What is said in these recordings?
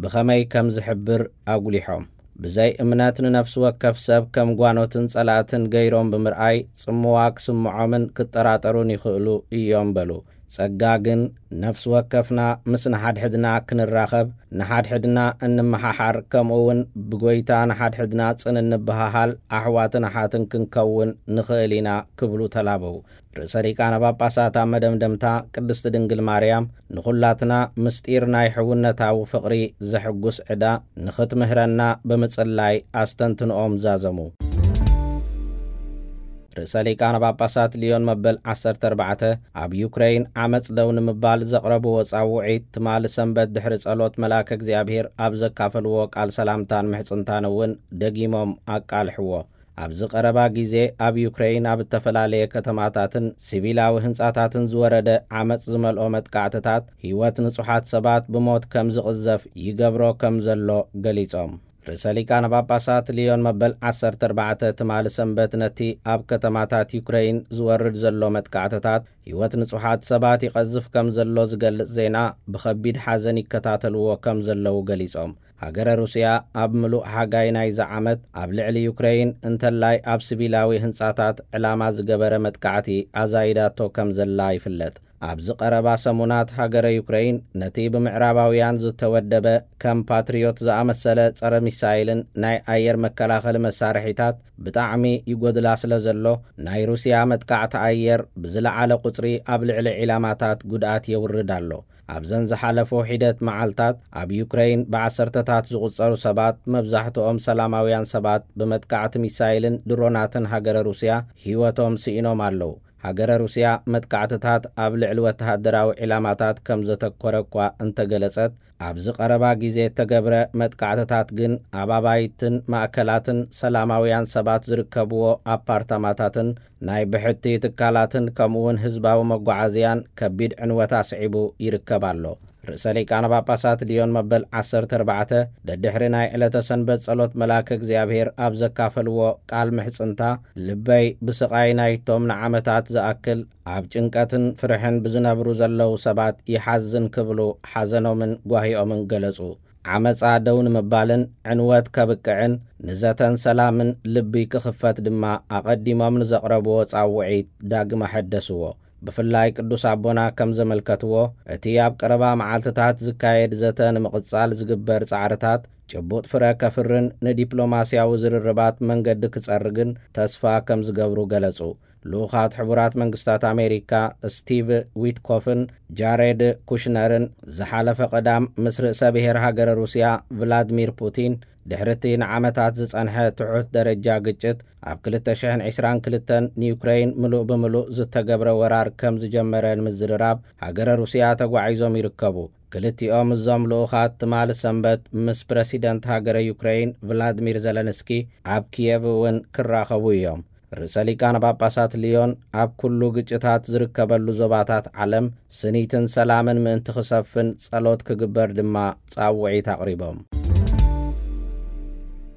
ብኸመይ ከም ዝሕብር ኣጉሊሖም። ብዘይ እምነት ንነፍሲ ወከፍ ሰብ ከም ጓኖትን ጸላእትን ገይሮም ብምርኣይ ጽምዋ ክስምዖምን ክጠራጠሩን ይኽእሉ እዮም በሉ። ጸጋ ግን ነፍሲ ወከፍና ምስ ንሓድሕድና ክንራኸብ፣ ንሓድሕድና እንመሓሓር፣ ከምኡ እውን ብጎይታ ንሓድሕድና ጽን እንበሃሃል ኣሕዋትን ኣሓትን ክንከውን ንኽእል ኢና ክብሉ ተላበው። ርእሰ ሊቃነ ጳጳሳት ኣብ መደምደምታ ቅድስቲ ድንግል ማርያም ንኹላትና ምስጢር ናይ ሕውነታዊ ፍቕሪ ዘሕጉስ ዕዳ ንኽትምህረና ብምጽላይ ኣስተንትንኦም ዛዘሙ። ርእሰ ሊቃነ ጳጳሳት ሊዮን መበል ዓሰርተ ኣርባዕተ ኣብ ዩክረይን ዓመጽ ደው ንምባል ዘቕረብዎ ጻውዒት ትማሊ ሰንበት ድሕሪ ጸሎት መልኣከ እግዚኣብሔር ኣብ ዘካፈልዎ ቃል ሰላምታን ምሕጽንታን እውን ደጊሞም ኣቃልሕዎ። ኣብዚ ቀረባ ግዜ ኣብ ዩክረይን ኣብ እተፈላለየ ከተማታትን ሲቪላዊ ህንጻታትን ዝወረደ ዓመጽ ዝመልኦ መጥቃዕትታት ህይወት ንጹሓት ሰባት ብሞት ከም ዝቕዘፍ ይገብሮ ከም ዘሎ ገሊጾም። ርእሰ ሊቃነ ጳጳሳት ሊዮን መበል ዓሰርተ ኣርባዕተ ትማሊ ሰንበት ነቲ ኣብ ከተማታት ዩክረይን ዝወርድ ዘሎ መጥቃዕትታት ህይወት ንጹሓት ሰባት ይቐዝፍ ከም ዘሎ ዝገልጽ ዜና ብኸቢድ ሓዘን ይከታተልዎ ከም ዘለዉ ገሊጾም። ሃገረ ሩስያ ኣብ ምሉእ ሓጋይ ናይዚ ዓመት ኣብ ልዕሊ ዩክረይን እንተላይ ኣብ ሲቪላዊ ህንጻታት ዕላማ ዝገበረ መጥቃዕቲ ኣዛይዳቶ ከም ዘላ ይፍለጥ። ኣብዚ ቀረባ ሰሙናት ሃገረ ዩክረይን ነቲ ብምዕራባውያን ዝተወደበ ከም ፓትሪዮት ዝኣመሰለ ጸረ ሚሳይልን ናይ ኣየር መከላኸሊ መሳርሒታት ብጣዕሚ ይጎድላ ስለ ዘሎ ናይ ሩስያ መጥቃዕቲ ኣየር ብዝለዓለ ቁጽሪ ኣብ ልዕሊ ዒላማታት ጉድኣት የውርድ ኣሎ። ኣብዘን ዝሓለፉ ሒደት መዓልታት ኣብ ዩክረይን ብዓሰርተታት ዝቑጸሩ ሰባት፣ መብዛሕትኦም ሰላማውያን ሰባት፣ ብመጥቃዕቲ ሚሳይልን ድሮናትን ሃገረ ሩስያ ህይወቶም ስኢኖም ኣለዉ። ሃገረ ሩስያ መጥቃዕትታት ኣብ ልዕሊ ወተሃደራዊ ዒላማታት ከም ዘተኮረ እኳ እንተገለጸት፣ ኣብዚ ቀረባ ግዜ እተገብረ መጥቃዕትታት ግን ኣብ ኣባይትን ማእከላትን ሰላማውያን ሰባት ዝርከብዎ ኣፓርታማታትን ናይ ብሕቲ ትካላትን ከምኡውን ህዝባዊ መጓዓዝያን ከቢድ ዕንወት ኣስዒቡ ይርከብ ኣሎ። ርእሰ ሊቃነ ጳጳሳት ሊዮን መበል ዓሰርተ ኣርባዕተ ደድሕሪ ናይ ዕለተ ሰንበት ጸሎት መልኣከ እግዚኣብሔር ኣብ ዘካፈልዎ ቃል ምሕጽንታ፣ ልበይ ብስቓይ ናይቶም ንዓመታት ዝኣክል ኣብ ጭንቀትን ፍርሕን ብዝነብሩ ዘለዉ ሰባት ይሓዝን ክብሉ ሓዘኖምን ጓሂኦምን ገለጹ። ዓመጻ ደው ንምባልን ዕንወት ከብቅዕን ንዘተን ሰላምን ልቢ ክኽፈት ድማ ኣቐዲሞም ንዘቕረብዎ ጻውዒት ዳግመ ሐደስዎ። ብፍላይ ቅዱስ ኣቦና ከም ዘመልከትዎ፣ እቲ ኣብ ቀረባ መዓልትታት ዝካየድ ዘተ ንምቕጻል ዝግበር ጻዕርታት ጭቡጥ ፍረ ከፍርን ንዲፕሎማስያዊ ዝርርባት መንገዲ ክጸርግን ተስፋ ከም ዝገብሩ ገለጹ። ልኡኻት ሕቡራት መንግስታት ኣሜሪካ ስቲቭ ዊትኮፍን ጃሬድ ኩሽነርን ዝሓለፈ ቀዳም ምስ ርእሰ ብሔር ሃገረ ሩስያ ቭላድሚር ፑቲን ድሕሪ እቲ ንዓመታት ዝጸንሐ ትሑት ደረጃ ግጭት ኣብ ክልተ ሽሕን ዕስራን ክልተን ንዩክረይን ምሉእ ብምሉእ ዝተገብረ ወራር ከም ዝጀመረ ንምዝርራብ ሃገረ ሩስያ ተጓዒዞም ይርከቡ። ክልቲኦም እዞም ልኡኻት ትማሊ ሰንበት ምስ ፕረሲደንት ሃገረ ዩክረይን ቭላድሚር ዘለንስኪ ኣብ ኪየቭ እውን ክራኸቡ እዮም። ርእሰ ሊቃነ ጳጳሳት ሊዮን ኣብ ኩሉ ግጭታት ዝርከበሉ ዞባታት ዓለም ስኒትን ሰላምን ምእንቲ ክሰፍን ጸሎት ክግበር ድማ ጻውዒት ኣቕሪቦም።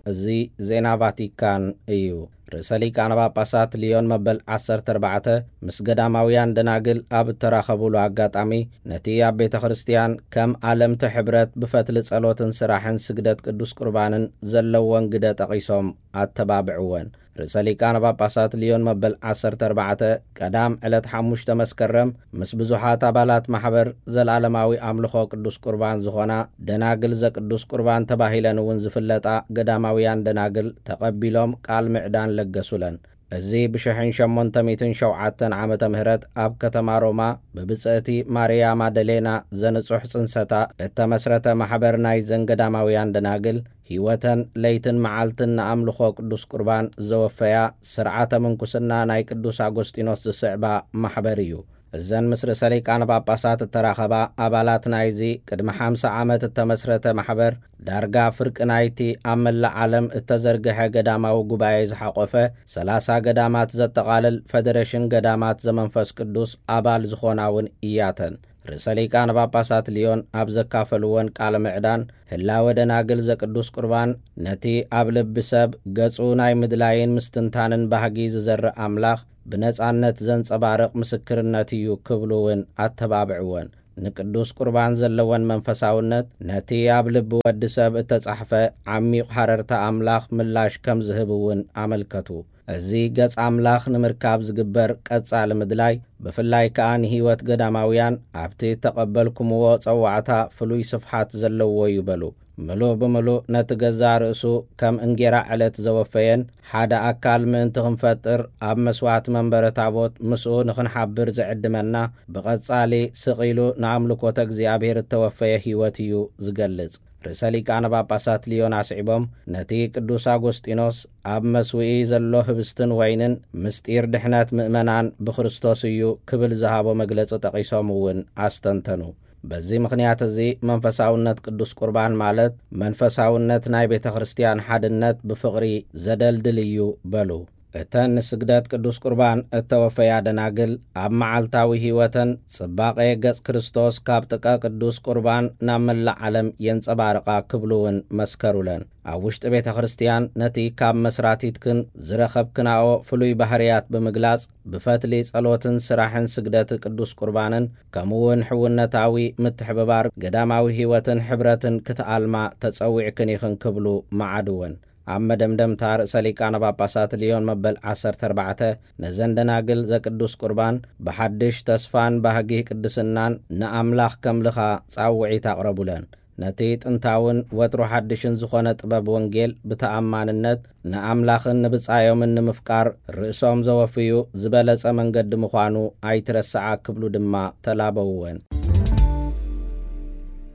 እዚ ዜና ቫቲካን እዩ። ርእሰ ሊቃነ ጳጳሳት ሊዮን መበል ዓሰርተ ኣርባዕተ ምስ ገዳማውያን ደናግል ኣብ እተራኸቡሉ ኣጋጣሚ፣ ነቲ ኣብ ቤተ ክርስቲያን ከም ኣለምቲ ሕብረት ብፈትሊ ጸሎትን ስራሕን ስግደት ቅዱስ ቁርባንን ዘለወን ግደ ጠቒሶም ኣተባብዕወን። ርእሰ ሊቃነ ጳጳሳት ሊዮን መበል ዓሰርተ ኣርባዕተ ቀዳም ዕለት ሓሙሽተ መስከረም ምስ ብዙሓት ኣባላት ማሕበር ዘላለማዊ ኣምልኾ ቅዱስ ቁርባን ዝኾና ደናግል ዘቅዱስ ቁርባን ተባሂለን እውን ዝፍለጣ ገዳማውያን ደናግል ተቐቢሎም ቃል ምዕዳን ለገሱለን። እዚ ብሽሕን ሸሞንተ ሚእትን ሸውዓተን ዓመተ ምህረት ኣብ ከተማ ሮማ ብብጽእቲ ማርያ ማደሌና ዘንጹሕ ጽንሰታ እተመስረተ ማሕበር ናይዘን ገዳማውያን ደናግል፣ ህይወተን ለይትን መዓልትን ንኣምልኾ ቅዱስ ቁርባን ዘወፈያ፣ ስርዓተ ምንኩስና ናይ ቅዱስ ኣጎስጢኖስ ዝስዕባ ማሕበር እዩ። እዘን ምስ ርእሰ ሊቃነ ጳጳሳት እተራኸባ ኣባላት ናይዚ ቅድሚ ሓምሳ ዓመት እተመስረተ ማሕበር፣ ዳርጋ ፍርቂ ናይቲ ኣብ መላእ ዓለም እተዘርግሐ ገዳማዊ ጉባኤ ዝሓቖፈ ሰላሳ ገዳማት ዘጠቓልል ፈደረሽን ገዳማት ዘመንፈስ ቅዱስ ኣባል ዝኾና እውን እያተን። ርእሰ ሊቃነ ጳጳሳት ሊዮን ኣብ ዘካፈልወን ቃለ ምዕዳን፣ ህላወ ደናግል ዘቅዱስ ቁርባን ነቲ ኣብ ልቢ ሰብ ገጹ ናይ ምድላይን ምስትንታንን ባህጊ ዝዘርእ ኣምላኽ ብነጻነት ዘንጸባርቕ ምስክርነት እዩ ክብሉ እውን ኣተባብዕወን። ንቅዱስ ቁርባን ዘለወን መንፈሳውነት፣ ነቲ ኣብ ልቢ ወዲ ሰብ እተጻሕፈ ዓሚቕ ሃረርታ ኣምላኽ ምላሽ ከም ዝህብ እውን ኣመልከቱ። እዚ ገጽ ኣምላኽ ንምርካብ ዝግበር ቀጻሊ ምድላይ፣ ብፍላይ ከኣ ንህይወት ገዳማውያን፣ ኣብቲ እተቐበልኩምዎ ጸዋዕታ ፍሉይ ስፍሓት ዘለዎ እዩ በሉ። ምሉእ ብምሉእ ነቲ ገዛእ ርእሱ ከም እንጌራ ዕለት ዘወፈየን፣ ሓደ ኣካል ምእንቲ ክንፈጥር ኣብ መስዋዕቲ መንበረ ታቦት ምስኡ ንኽንሓብር ዝዕድመና፣ ብቐጻሊ ስቕ ኢሉ ንኣምልኮተ እግዚኣብሔር እተወፈየ ህይወት እዩ ዝገልጽ። ርእሰ ሊቃነ ጳጳሳት ልዮን ኣስዒቦም፣ ነቲ ቅዱስ ኣጎስጢኖስ ኣብ መስውኢ ዘሎ ህብስትን ወይንን ምስጢር ድሕነት ምእመናን ብክርስቶስ እዩ ክብል ዝሃቦ መግለጺ ጠቒሶም እውን ኣስተንተኑ። በዚ ምኽንያት እዚ መንፈሳውነት ቅዱስ ቁርባን ማለት መንፈሳውነት ናይ ቤተ ክርስቲያን ሓድነት ብፍቕሪ ዘደልድል እዩ በሉ። እተን ንስግደት ቅዱስ ቁርባን እተወፈያ ደናግል ኣብ መዓልታዊ ህይወተን ጽባቐ ገጽ ክርስቶስ ካብ ጥቃ ቅዱስ ቁርባን ናብ መላእ ዓለም የንጸባርቓ ክብሉ እውን መስከሩለን። ኣብ ውሽጢ ቤተ ክርስቲያን ነቲ ካብ መስራቲትክን ዝረኸብክናኦ ፍሉይ ባህርያት ብምግላጽ ብፈትሊ ጸሎትን ስራሕን ስግደት ቅዱስ ቁርባንን ከምኡ እውን ሕውነታዊ ምትሕብባር ገዳማዊ ህይወትን ሕብረትን ክትኣልማ ተጸዊዕክን ኢኽን ክብሉ መዓድወን። ኣብ መደምደምታ ርእሰ ሊቃነ ጳጳሳት ልዮን መበል ዓሰርተ ኣርባዕተ ነዘን ደናግል ዘቅዱስ ቁርባን ብሓድሽ ተስፋን ባህጊ ቅድስናን ንኣምላኽ ከምልኻ ጻውዒት ኣቕረቡለን። ነቲ ጥንታውን ወትሩ ሓድሽን ዝኾነ ጥበብ ወንጌል ብተኣማንነት ንኣምላኽን ንብጻዮምን ንምፍቃር ርእሶም ዘወፍዩ ዝበለጸ መንገዲ ምዃኑ ኣይትረስዓ ክብሉ ድማ ተላበውወን።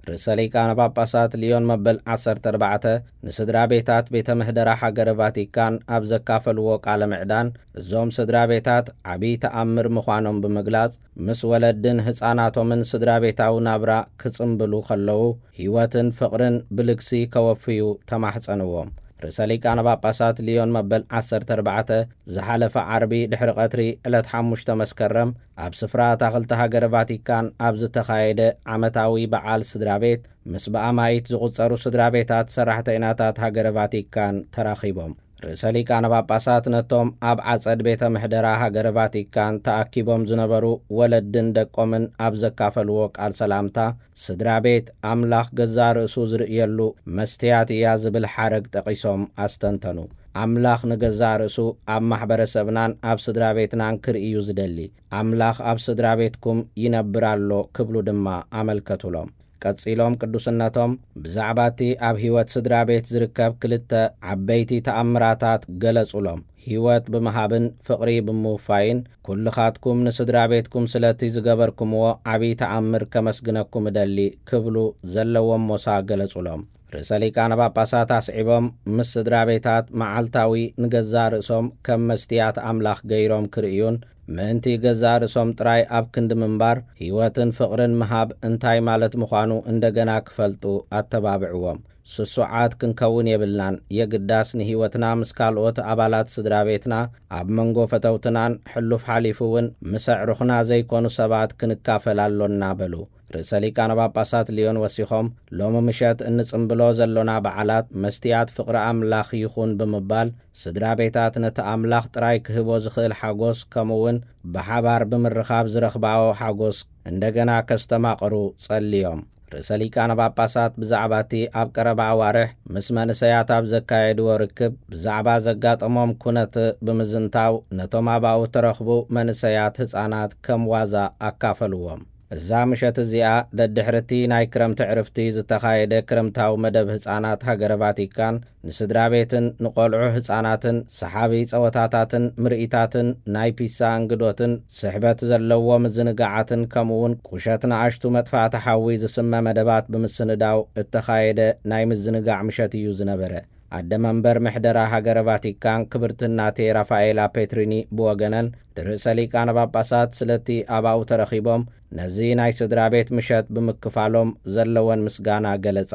ርእሰ ሊቃነ ጳጳሳት ልዮን መበል ዓሰርተ ኣርባዕተ ንስድራ ቤታት ቤተ ምህደራ ሃገረ ቫቲካን ኣብ ዘካፈልዎ ቃለ ምዕዳን፣ እዞም ስድራ ቤታት ዓብዪ ተኣምር ምዃኖም ብምግላጽ፣ ምስ ወለድን ህጻናቶምን ስድራ ቤታዊ ናብራ ክጽምብሉ ከለዉ፣ ህይወትን ፍቕርን ብልግሲ ከወፍዩ ተማሕጸንዎም። ርእሰ ሊቃነ ጳጳሳት ልዮን መበል ዓሰርተ ኣርባዕተ ዝሓለፈ ዓርቢ ድሕሪ ቀትሪ ዕለት ሓሙሽተ መስከረም ኣብ ስፍራ ኣታኽልቲ ሃገረ ቫቲካን ኣብ ዝተኻየደ ዓመታዊ በዓል ስድራ ቤት፣ ምስ ብኣማይት ዝቑጸሩ ስድራ ቤታት ሰራሕተይናታት ሃገረ ቫቲካን ተራኺቦም። ርእሰ ሊቃነ ጳጳሳት ነቶም ኣብ ዓጸድ ቤተ ምሕደራ ሃገረ ቫቲካን ተኣኪቦም ዝነበሩ ወለድን ደቆምን ኣብ ዘካፈልዎ ቃል ሰላምታ፣ ስድራ ቤት ኣምላኽ ገዛእ ርእሱ ዝርእየሉ መስትያት እያ ዝብል ሓረግ ጠቒሶም ኣስተንተኑ። ኣምላኽ ንገዛእ ርእሱ ኣብ ማሕበረሰብናን ኣብ ስድራ ቤትናን ክርኢ እዩ ዝደሊ። ኣምላኽ ኣብ ስድራ ቤትኩም ይነብር ኣሎ ክብሉ ድማ ኣመልከቱሎም። ቀጺሎም ቅዱስነቶም ብዛዕባ እቲ ኣብ ህይወት ስድራ ቤት ዝርከብ ክልተ ዓበይቲ ተኣምራታት ገለጹሎም። ህይወት ብምሃብን ፍቕሪ ብምውፋይን ኩልኻትኩም ንስድራ ቤትኩም ስለቲ ዝገበርኩምዎ ዓብዪ ተኣምር ከመስግነኩም እደሊ ክብሉ ዘለዎም ሞሳ ገለጹሎም። ርእሰ ሊቃነ ጳጳሳት ኣስዒቦም፣ ምስ ስድራ ቤታት መዓልታዊ ንገዛእ ርእሶም ከም መስትያት ኣምላኽ ገይሮም ክርእዩን ምእንቲ ገዛእ ርእሶም ጥራይ ኣብ ክንዲ ምንባር፣ ህይወትን ፍቕርን ምሃብ እንታይ ማለት ምዃኑ እንደገና ክፈልጡ ኣተባብዕዎም። ስሱዓት ክንከውን የብልናን። የግዳስ ንህይወትና ምስ ካልኦት ኣባላት ስድራ ቤትና፣ ኣብ መንጎ ፈተውትናን ሕሉፍ ሓሊፉ እውን ምስ ኣዕሩኽና ዘይኮኑ ሰባት ክንካፈል ኣሎና በሉ። ርእሰ ሊቃነ ጳጳሳት ልዮን ወሲኾም፣ ሎሚ ምሸት እንጽምብሎ ዘሎና በዓላት መስትያት ፍቕሪ ኣምላኽ ይኹን ብምባል፣ ስድራ ቤታት ነቲ ኣምላኽ ጥራይ ክህቦ ዝኽእል ሓጎስ፣ ከምኡውን ብሓባር ብምርኻብ ዝረኽባኦ ሓጎስ እንደገና ከስተማቕሩ ጸልዮም። ርእሰ ሊቃነ ጳጳሳት ብዛዕባ እቲ ኣብ ቀረባ ኣዋርሕ ምስ መንእሰያት ኣብ ዘካየድዎ ርክብ ብዛዕባ ዘጋጠሞም ኩነት ብምዝንታው፣ ነቶም ኣብኡ እተረኽቡ መንእሰያት ህጻናት ከም ዋዛ ኣካፈልዎም። እዛ ምሸት እዚኣ ደድሕሪ እቲ ናይ ክረምቲ ዕርፍቲ ዝተኻየደ ክረምታዊ መደብ ህጻናት ሃገረ ቫቲካን፣ ንስድራ ቤትን ንቖልዑ ህጻናትን ሰሓቢ ጸወታታትን ምርኢታትን ናይ ፒሳ እንግዶትን ስሕበት ዘለዎ ምዝንጋዓትን ከምኡውን ቁሸት ንኣሽቱ መጥፋእቲ ሓዊ ዝስመ መደባት ብምስንዳው እተኻየደ ናይ ምዝንጋዕ ምሸት እዩ ዝነበረ። ኣደ መንበር ምሕደራ ሃገረ ቫቲካን ክብርቲ እናቴ ራፋኤላ ፔትሪኒ ብወገነን፣ ርእሰ ሊቃነ ጳጳሳት ስለቲ ኣብኡ ተረኺቦም ነዚ ናይ ስድራ ቤት ምሸት ብምክፋሎም ዘለወን ምስጋና ገለጻ።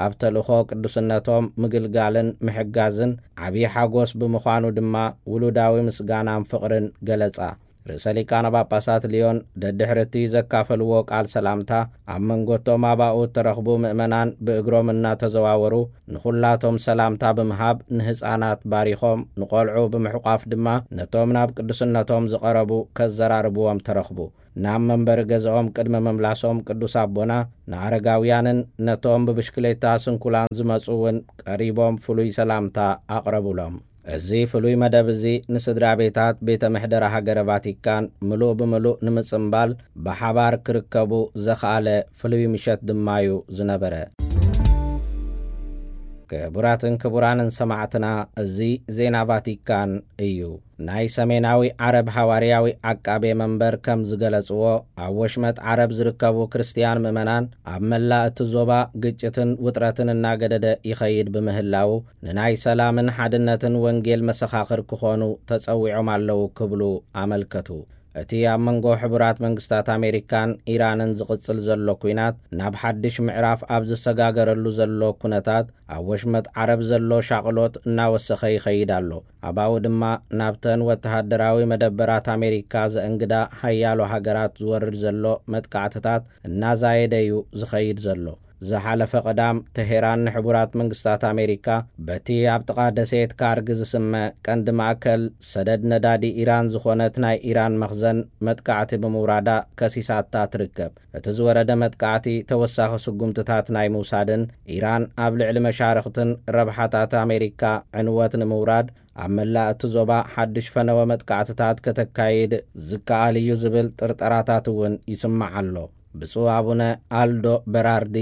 ኣብ ተልእኾ ቅዱስነቶም ምግልጋልን ምሕጋዝን ዓብዪ ሓጎስ ብምዃኑ ድማ ውሉዳዊ ምስጋናን ፍቕርን ገለጻ። ርእሰ ሊቃነ ጳጳሳት ልዮን ደድሕሪ እቲ ዘካፈልዎ ቃል ሰላምታ፣ ኣብ መንጎ እቶም ኣብኡ እተረኽቡ ምእመናን ብእግሮም እናተዘዋወሩ ንኹላቶም ሰላምታ ብምሃብ ንህፃናት ባሪኾም፣ ንቖልዑ ብምሕቋፍ ድማ ነቶም ናብ ቅዱስነቶም ዝቐረቡ ከዘራርብዎም ተረኽቡ። ናብ መንበሪ ገዛኦም ቅድሚ ምምላሶም ቅዱስ ኣቦና ንኣረጋውያንን ነቶም ብብሽክሌታ ስንኩላን ዝመጹ እውን ቀሪቦም ፍሉይ ሰላምታ ኣቕረቡሎም። እዚ ፍሉይ መደብ እዚ ንስድራ ቤታት ቤተ ምሕደራ ሃገረ ቫቲካን ምሉእ ብምሉእ ንምጽምባል ብሓባር ክርከቡ ዘኽኣለ ፍሉይ ምሸት ድማ እዩ ዝነበረ። ክቡራትን ክቡራንን ሰማዕትና፣ እዚ ዜና ቫቲካን እዩ። ናይ ሰሜናዊ ዓረብ ሃዋርያዊ ዓቃቤ መንበር ከም ዝገለጽዎ፣ ኣብ ወሽመጥ ዓረብ ዝርከቡ ክርስትያን ምእመናን ኣብ መላእ እቲ ዞባ ግጭትን ውጥረትን እናገደደ ይኸይድ ብምህላዉ፣ ንናይ ሰላምን ሓድነትን ወንጌል መሰኻኽር ክኾኑ ተጸዊዖም ኣለዉ ክብሉ ኣመልከቱ። እቲ ኣብ መንጎ ሕቡራት መንግስታት ኣሜሪካን ኢራንን ዝቕጽል ዘሎ ኲናት ናብ ሓድሽ ምዕራፍ ኣብ ዝሰጋገረሉ ዘሎ ኩነታት፣ ኣብ ወሽመጥ ዓረብ ዘሎ ሻቕሎት እናወሰኸ ይኸይድ ኣሎ። ኣባኡ ድማ ናብተን ወተሃደራዊ መደበራት ኣሜሪካ ዘእንግዳ ሓያሎ ሃገራት ዝወርድ ዘሎ መጥቃዕትታት እናዛየደ እዩ ዝኸይድ ዘሎ። ዝሓለፈ ቀዳም፣ ተሄራን ንሕቡራት መንግስታት ኣሜሪካ በቲ ኣብ ጥቓ ደሴት ካርግ ዝስመ ቀንዲ ማእከል ሰደድ ነዳዲ ኢራን ዝኾነት ናይ ኢራን መኽዘን መጥቃዕቲ ብምውራዳ ከሲሳታ ትርከብ። እቲ ዝወረደ መጥቃዕቲ ተወሳኺ ስጉምትታት ናይ ምውሳድን ኢራን ኣብ ልዕሊ መሻርኽትን ረብሓታት ኣሜሪካ ዕንወት ንምውራድ ኣብ መላእ እቲ ዞባ ሓድሽ ፈነወ መጥቃዕትታት ከተካይድ ዝከኣል እዩ ዝብል ጥርጠራታት እውን ይስማዕ ኣሎ። ብፁዕ ኣቡነ ኣልዶ በራርዲ፣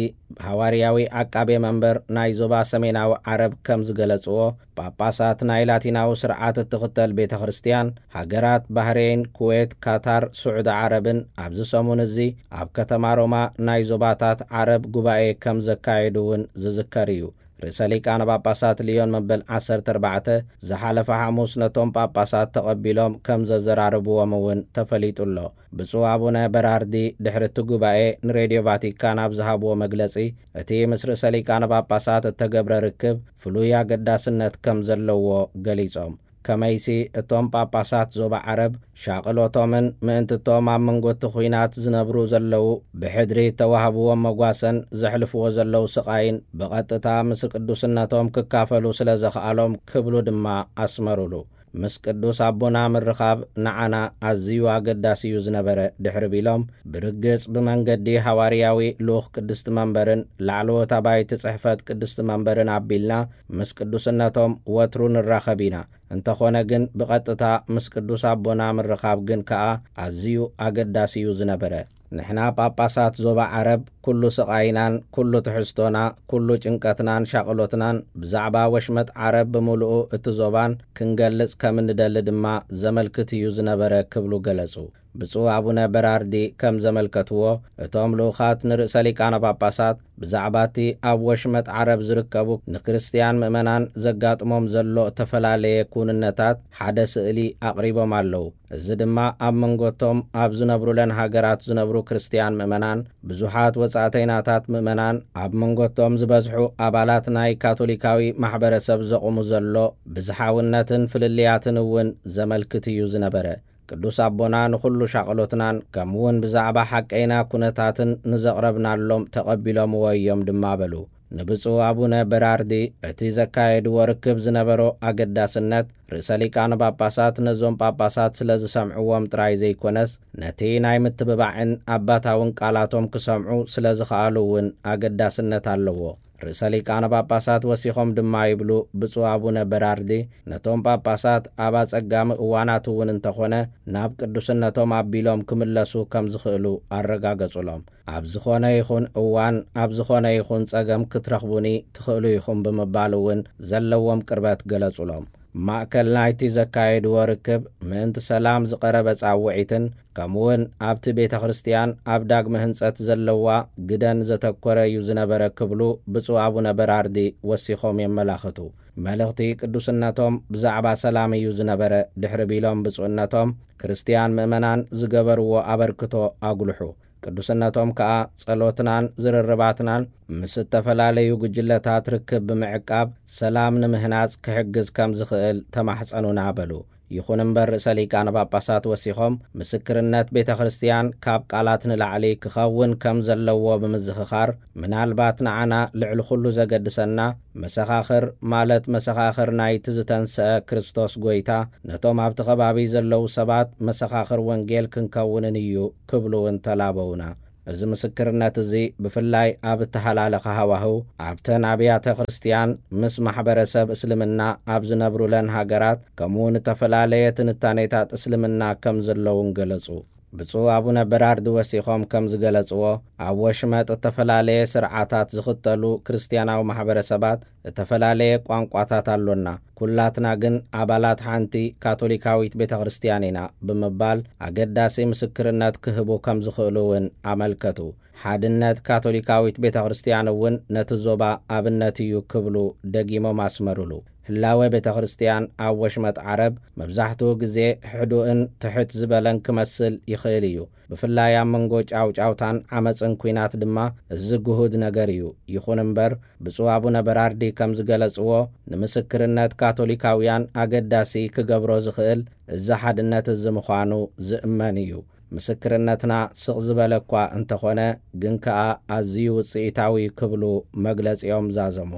ሃዋርያዊ ዓቃቤ መንበር ናይ ዞባ ሰሜናዊ ዓረብ፣ ከም ዝገለጽዎ፣ ጳጳሳት ናይ ላቲናዊ ስርዓት እትኽተል ቤተ ክርስቲያን፣ ሃገራት ባህሬን፣ ኩዌት፣ ካታር፣ ስዑዲ ዓረብን ኣብዚ ሰሙን እዚ ኣብ ከተማ ሮማ ናይ ዞባታት ዓረብ ጉባኤ ከም ዘካየዱ እውን ዝዝከር እዩ። ርእሰ ሊቃነ ጳጳሳት ልዮን መበል ዓሰርተ ኣርባዕተ ዝሓለፈ ሓሙስ ነቶም ጳጳሳት ተቐቢሎም ከም ዘዘራረብዎም እውን ተፈሊጡ ኣሎ። ብፁዕ ኣቡነ በራርዲ ድሕሪ እቲ ጉባኤ ንሬድዮ ቫቲካን ኣብ ዝሃብዎ መግለጺ፣ እቲ ምስ ርእሰ ሊቃነ ጳጳሳት እተገብረ ርክብ ፍሉይ ኣገዳስነት ከም ዘለዎ ገሊጾም። ከመይሲ እቶም ጳጳሳት ዞባ ዓረብ ሻቕሎቶምን ምእንቲ እቶም ኣብ መንጎ እቲ ኲናት ዝነብሩ ዘለዉ ብሕድሪ እተዋህብዎም መጓሰን ዘሕልፍዎ ዘለዉ ስቓይን ብቐጥታ ምስ ቅዱስነቶም ክካፈሉ ስለ ዘኽኣሎም ክብሉ ድማ ኣስመሩሉ። ምስ ቅዱስ ኣቦና ምርኻብ ንዓና ኣዝዩ ኣገዳሲ እዩ ዝነበረ ድሕሪ ቢሎም፣ ብርግጽ ብመንገዲ ሃዋርያዊ ልኡኽ ቅድስቲ መንበርን ላዕለዎት ኣባይቲ ጽሕፈት ቅድስቲ መንበርን ኣቢልና ምስ ቅዱስነቶም ወትሩ ንራኸብ ኢና። እንተኾነ ግን ብቐጥታ ምስ ቅዱስ ኣቦና ምርኻብ ግን ከኣ ኣዝዩ ኣገዳሲ እዩ ዝነበረ። ንሕና ጳጳሳት ዞባ ዓረብ ኩሉ ስቓይናን ኩሉ ትሕዝቶና፣ ኩሉ ጭንቀትናን ሻቕሎትናን ብዛዕባ ወሽመጥ ዓረብ ብምሉኡ እቲ ዞባን ክንገልጽ ከም እንደሊ ድማ ዘመልክት እዩ ዝነበረ ክብሉ ገለጹ። ብፁዕ ኣቡነ በራርዲ ከም ዘመልከትዎ፣ እቶም ልኡኻት ንርእሰ ሊቃነ ጳጳሳት ብዛዕባ እቲ ኣብ ወሽመጥ ዓረብ ዝርከቡ ንክርስትያን ምእመናን ዘጋጥሞም ዘሎ እተፈላለየ ክውንነታት ሓደ ስእሊ ኣቕሪቦም ኣለዉ። እዚ ድማ ኣብ መንጎቶም ኣብ ዝነብሩለን ሃገራት ዝነብሩ ክርስትያን ምእመናን፣ ብዙሓት ወጻእተይናታት ምእመናን፣ ኣብ መንጎቶም ዝበዝሑ ኣባላት ናይ ካቶሊካዊ ማሕበረሰብ ዘቑሙ ዘሎ ብዝሓውነትን ፍልልያትን እውን ዘመልክት እዩ ዝነበረ። ቅዱስ ኣቦና ንኹሉ ሻቕሎትናን ከምኡውን ብዛዕባ ሓቀይና ኩነታትን ንዘቕረብናሎም ተቐቢሎምዎ እዮም ድማ በሉ። ንብፁዕ ኣቡነ በራርዲ እቲ ዘካየድዎ ርክብ ዝነበሮ ኣገዳስነት፣ ርእሰ ሊቃነ ጳጳሳት ነዞም ጳጳሳት ስለ ዝሰምዕዎም ጥራይ ዘይኮነስ፣ ነቲ ናይ ምትብባዕን ኣባታውን ቃላቶም ክሰምዑ ስለ ዝኸኣሉ እውን ኣገዳስነት ኣለዎ። ርእሰ ሊቃነ ጳጳሳት ወሲኾም ድማ ይብሉ፣ ብፁዕ ኣቡነ በራርዲ ነቶም ጳጳሳት ኣብ ኣጸጋሚ እዋናት እውን እንተኾነ ናብ ቅዱስነቶም ኣቢሎም ክምለሱ ከም ዝኽእሉ ኣረጋገጹሎም። ኣብ ዝኾነ ይኹን እዋን፣ ኣብ ዝኾነ ይኹን ጸገም ክትረኽቡኒ ትኽእሉ ኢኹም ብምባል እውን ዘለዎም ቅርበት ገለጹሎም። ማእከል ናይቲ ዘካየድዎ ርክብ ምእንቲ ሰላም ዝቐረበ ጻውዒትን ከምኡውን ኣብቲ ቤተ ክርስቲያን ኣብ ዳግመ ህንጸት ዘለዋ ግደን ዘተኮረ እዩ ዝነበረ ክብሉ ብፁዕ ኣቡነ በራርዲ ወሲኾም የመላኽቱ። መልእኽቲ ቅዱስነቶም ብዛዕባ ሰላም እዩ ዝነበረ ድሕሪ ቢሎም ብፁዕነቶም፣ ክርስትያን ምእመናን ዝገበርዎ ኣበርክቶ ኣጉልሑ። ቅዱስነቶም ከኣ ጸሎትናን ዝርርባትናን ምስ እተፈላለዩ ጉጅለታት ርክብ ብምዕቃብ ሰላም ንምህናጽ ክሕግዝ ከም ዝኽእል ተማሕጸኑና በሉ። ይኹን እምበር፣ ርእሰ ሊቃነ ጳጳሳት ወሲኾም፣ ምስክርነት ቤተ ክርስቲያን ካብ ቃላት ንላዕሊ ክኸውን ከም ዘለዎ ብምዝኽኻር፣ ምናልባት ንዓና ልዕሊ ኩሉ ዘገድሰና፣ መሰኻኽር፣ ማለት መሰኻኽር ናይቲ ዝተንስአ ክርስቶስ ጐይታ፣ ነቶም ኣብቲ ከባቢ ዘለዉ ሰባት መሰኻኽር ወንጌል ክንከውንን እዩ ክብሉ እውን ተላበዉና። እዚ ምስክርነት እዚ ብፍላይ ኣብ እተሃላለኸ ሃዋህው፣ ኣብተን ኣብያተ ክርስቲያን፣ ምስ ማሕበረሰብ እስልምና ኣብ ዝነብሩለን ሃገራት፣ ከምኡ እውን እተፈላለየ ትንታኔታት እስልምና ከም ዘለውን ገለጹ። ብፁዕ ኣቡነ በራርድ ወሲኾም ከም ዝገለጽዎ፣ ኣብ ወሽመጥ እተፈላለየ ስርዓታት ዝኽተሉ ክርስትያናዊ ማሕበረሰባት እተፈላለየ ቋንቋታት ኣሎና፣ ኩላትና ግን ኣባላት ሓንቲ ካቶሊካዊት ቤተ ክርስቲያን ኢና ብምባል ኣገዳሲ ምስክርነት ክህቡ ከም ዝኽእሉ እውን ኣመልከቱ። ሓድነት ካቶሊካዊት ቤተ ክርስቲያን እውን ነቲ ዞባ ኣብነት እዩ ክብሉ ደጊሞም ኣስመሩሉ። ህላወ ቤተ ክርስቲያን ኣብ ወሽመጥ ዓረብ መብዛሕትኡ ግዜ ሕዱእን ትሕት ዝበለን ክመስል ይኽእል እዩ። ብፍላይ ኣብ መንጎ ጫውጫውታን ዓመጽን ኲናት ድማ እዚ ግሁድ ነገር እዩ። ይኹን እምበር፣ ብፁዕ ኣቡነ በራርዲ ከም ዝገለጽዎ፣ ንምስክርነት ካቶሊካውያን ኣገዳሲ ክገብሮ ዝኽእል እዚ ሓድነት እዚ ምዃኑ ዝእመን እዩ። ምስክርነትና ስቕ ዝበለ እኳ እንተኾነ፣ ግን ከኣ ኣዝዩ ውጽኢታዊ ክብሉ መግለጺኦም ዛዘሙ።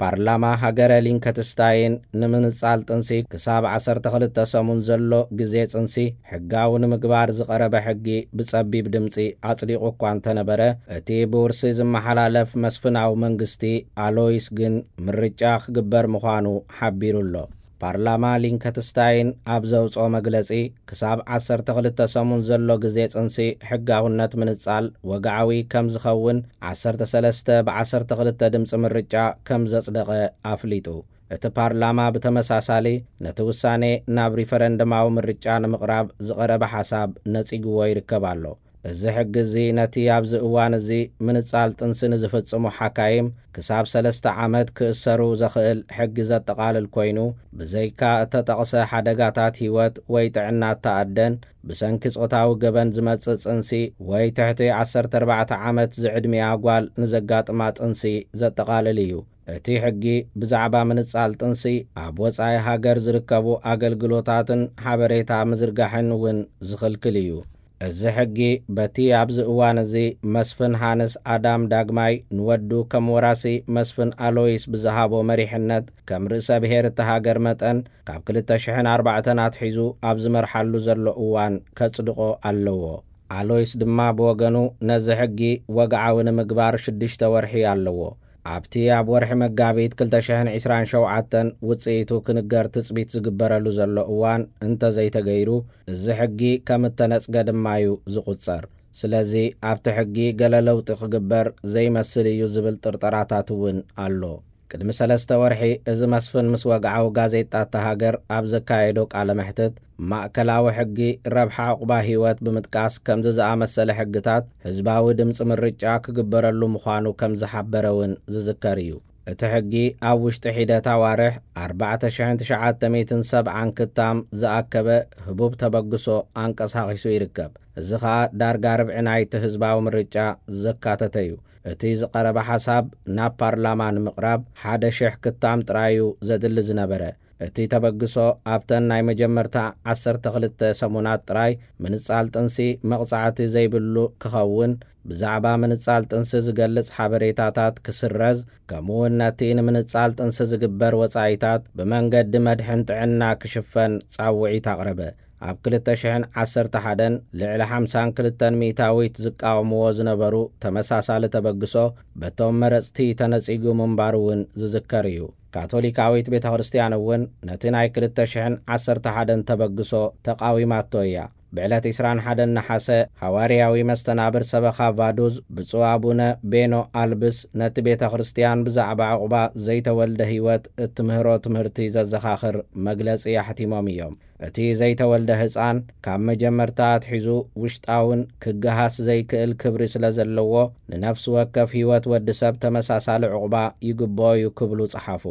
ፓርላማ ሃገረ ሊንከትስታይን ንምንጻል ጥንሲ ክሳብ ዓሰርተ ክልተ ሰሙን ዘሎ ግዜ ጽንሲ ሕጋዊ ንምግባር ዝቐረበ ሕጊ ብጸቢብ ድምጺ ኣጽዲቑ እኳ እንተነበረ፣ እቲ ብውርሲ ዝመሓላለፍ መስፍናዊ መንግስቲ ኣሎይስ ግን ምርጫ ክግበር ምዃኑ ሓቢሩ ኣሎ። ፓርላማ ሊንከትስታይን ኣብ ዘውጽኦ መግለጺ፣ ክሳብ ዓሰርተ ክልተ ሰሙን ዘሎ ግዜ ጽንሲ ሕጋውነት ምንጻል ወግዓዊ ከም ዝኸውን ዓሰርተ ሰለስተ ብ ዓሰርተ ክልተ ድምጺ ምርጫ ከም ዘጽደቐ ኣፍሊጡ። እቲ ፓርላማ ብተመሳሳሊ ነቲ ውሳኔ ናብ ሪፈረንደማዊ ምርጫ ንምቕራብ ዝቐረበ ሓሳብ ነጺግዎ ይርከብ ኣሎ። እዚ ሕጊ እዚ ነቲ ኣብዚ እዋን እዚ ምንጻል ጥንሲ ንዝፍጽሙ ሓካይም ክሳብ ሰለስተ ዓመት ክእሰሩ ዘኽእል ሕጊ ዘጠቓልል ኮይኑ፣ ብዘይካ እተጠቕሰ ሓደጋታት ህይወት ወይ ጥዕና እተኣደን ብሰንኪ ጾታዊ ገበን ዝመጽእ ጥንሲ ወይ ትሕቲ ዓሰርተ ኣርባዕተ ዓመት ዝዕድሚኣ ጓል ንዘጋጥማ ጥንሲ ዘጠቓልል እዩ። እቲ ሕጊ ብዛዕባ ምንጻል ጥንሲ ኣብ ወጻኢ ሃገር ዝርከቡ ኣገልግሎታትን ሓበሬታ ምዝርጋሕን እውን ዝኽልክል እዩ። እዚ ሕጊ በቲ ኣብዚ እዋን እዚ መስፍን ሃንስ ኣዳም ዳግማይ ንወዱ ከም ወራሲ መስፍን ኣሎይስ ብዝሃቦ መሪሕነት፣ ከም ርእሰ ብሔር እቲ ሃገር መጠን፣ ካብ ክልተ ሽሕን ኣርባዕተን ኣትሒዙ ኣብ ዝመርሓሉ ዘሎ እዋን ከጽድቖ ኣለዎ። ኣሎይስ ድማ ብወገኑ፣ ነዚ ሕጊ ወግዓዊ ንምግባር ሽዱሽተ ወርሒ ኣለዎ። ኣብቲ ኣብ ወርሒ መጋቢት ክልተ ሽሕን ዕስራን ሸውዓተን ውጽኢቱ ክንገር ትጽቢት ዝግበረሉ ዘሎ እዋን እንተዘይተገይሩ፣ እዚ ሕጊ ከም እተነጽገ ድማ እዩ ዝቑጸር። ስለዚ ኣብቲ ሕጊ ገለ ለውጢ ክግበር ዘይመስል እዩ ዝብል ጥርጠራታት እውን ኣሎ። ቅድሚ ሰለስተ ወርሒ እዚ መስፍን ምስ ወግዓዊ ጋዜጣ እታ ሃገር ኣብ ዘካየዶ ቃለ መሕትት፣ ማእከላዊ ሕጊ ረብሓ ዑቕባ ህይወት ብምጥቃስ፣ ከምዚ ዝኣመሰለ ሕግታት ህዝባዊ ድምጺ ምርጫ ክግበረሉ ምዃኑ ከም ዝሓበረ እውን ዝዝከር እዩ። እቲ ሕጊ ኣብ ውሽጢ ሒደት ኣዋርሕ ኣርባዕተ ሽሕን ትሽዓተ ሚእትን ሰብዓን ክታም ዝኣከበ ህቡብ ተበግሶ ኣንቀሳቒሱ ይርከብ። እዚ ኸኣ ዳርጋ ርብዒ ናይቲ ህዝባዊ ምርጫ ዘካተተ እዩ። እቲ ዝቐረበ ሓሳብ ናብ ፓርላማ ንምቕራብ ሓደ ሽሕ ክታም ጥራይ እዩ ዘድሊ ዝነበረ። እቲ ተበግሶ ኣብተን ናይ መጀመርታ ዓሰርተ ክልተ ሰሙናት ጥራይ ምንጻል ጥንሲ መቕጻዕቲ ዘይብሉ ክኸውን፣ ብዛዕባ ምንጻል ጥንሲ ዝገልጽ ሓበሬታታት ክስረዝ፣ ከምኡውን ነቲ ንምንጻል ጥንሲ ዝግበር ወጻኢታት ብመንገዲ መድሕን ጥዕና ክሽፈን ጻውዒት ኣቕረበ። ኣብ ክልተ ሽሕን ዓሰርተ ሓደን ልዕሊ ሓምሳን ክልተን ሚእታዊት ዝቃወምዎ ዝነበሩ ተመሳሳሊ ተበግሶ በቶም መረጽቲ ተነጺጉ ምንባሩ እውን ዝዝከር እዩ። ካቶሊካዊት ቤተ ክርስቲያን እውን ነቲ ናይ ክልተ ሽሕን ዓሰርተ ሓደን ተበግሶ ተቓዊማቶ እያ። ብዕለት ዕስራን ሓደን ነሓሰ፣ ሃዋርያዊ መስተናብር ሰበኻ ቫዱዝ ብፁዕ ኣቡነ ቤኖ ኣልብስ ነቲ ቤተ ክርስቲያን ብዛዕባ ዕቑባ ዘይተወልደ ህይወት እትምህሮ ትምህርቲ ዘዘኻኽር መግለጺ ኣሕቲሞም እዮም። እቲ ዘይተወልደ ህጻን ካብ መጀመርታ ኣትሒዙ ውሽጣውን ክገሃስ ዘይክእል ክብሪ ስለ ዘለዎ፣ ንነፍሲ ወከፍ ህይወት ወዲ ሰብ ተመሳሳሊ ዕቑባ ይግብኦ እዩ ክብሉ ጸሓፉ።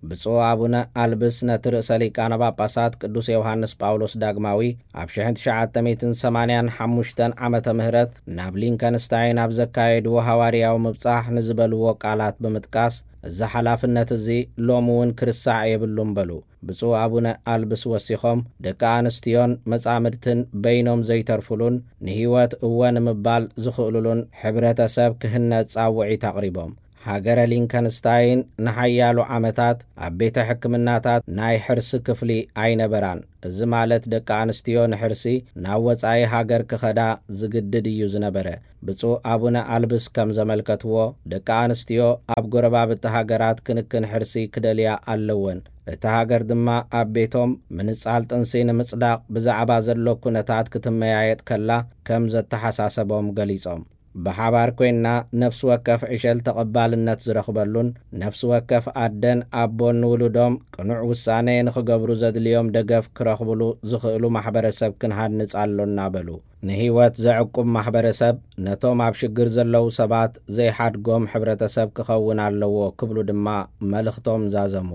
ብፁዕ ኣቡነ ኣልብስ ነቲ ርእሰ ሊቃነ ጳጳሳት ቅዱስ ዮሃንስ ጳውሎስ ዳግማዊ ኣብ ሽሕን ትሽዓተ ሚእትን ሰማንያን ሓሙሽተን ዓመተ ምህረት ናብ ሊንከንስታይን ኣብ ዘካየድዎ ሃዋርያዊ ምብጻሕ ንዝበልዎ ቃላት ብምጥቃስ፣ እዚ ሓላፍነት እዚ ሎሚ እውን ክርሳዕ የብሉን በሉ። ብፁዕ ኣቡነ ኣልብስ ወሲኾም፣ ደቂ ኣንስትዮን መጻምድትን በይኖም ዘይተርፉሉን ንህይወት እወ ንምባል ዝኽእሉሉን ሕብረተሰብ ክህነጽ ጻውዒት ኣቕሪቦም። ሃገረ ሊንከንስታይን ንሓያሎ ዓመታት ኣብ ቤተ ሕክምናታት ናይ ሕርሲ ክፍሊ ኣይነበራን። እዚ ማለት ደቂ ኣንስትዮ ንሕርሲ ናብ ወጻኢ ሃገር ክኸዳ ዝግድድ እዩ ዝነበረ። ብፁዕ ኣቡነ ኣልብስ ከም ዘመልከትዎ፣ ደቂ ኣንስትዮ ኣብ ጎረባብቲ ሃገራት ክንክን ሕርሲ ክደልያ ኣለወን። እታ ሃገር ድማ ኣብ ቤቶም ምንጻል ጥንሲ ንምጽዳቕ ብዛዕባ ዘሎ ኩነታት ክትመያየጥ ከላ ከም ዘተሓሳሰቦም ገሊጾም። ብሓባር ኮይንና ነፍሲ ወከፍ ዕሸል ተቐባልነት ዝረኽበሉን ነፍሲ ወከፍ ኣደን ኣቦን ንውሉዶም ቅኑዕ ውሳኔ ንኽገብሩ ዘድልዮም ደገፍ ክረኽብሉ ዝኽእሉ ማሕበረሰብ ክንሃንጽ ኣሎና በሉ። ንህይወት ዘዕቁብ ማሕበረሰብ ነቶም ኣብ ሽግር ዘለዉ ሰባት ዘይሓድጎም ሕብረተሰብ ክኸውን ኣለዎ ክብሉ ድማ መልእኽቶም ዛዘሙ።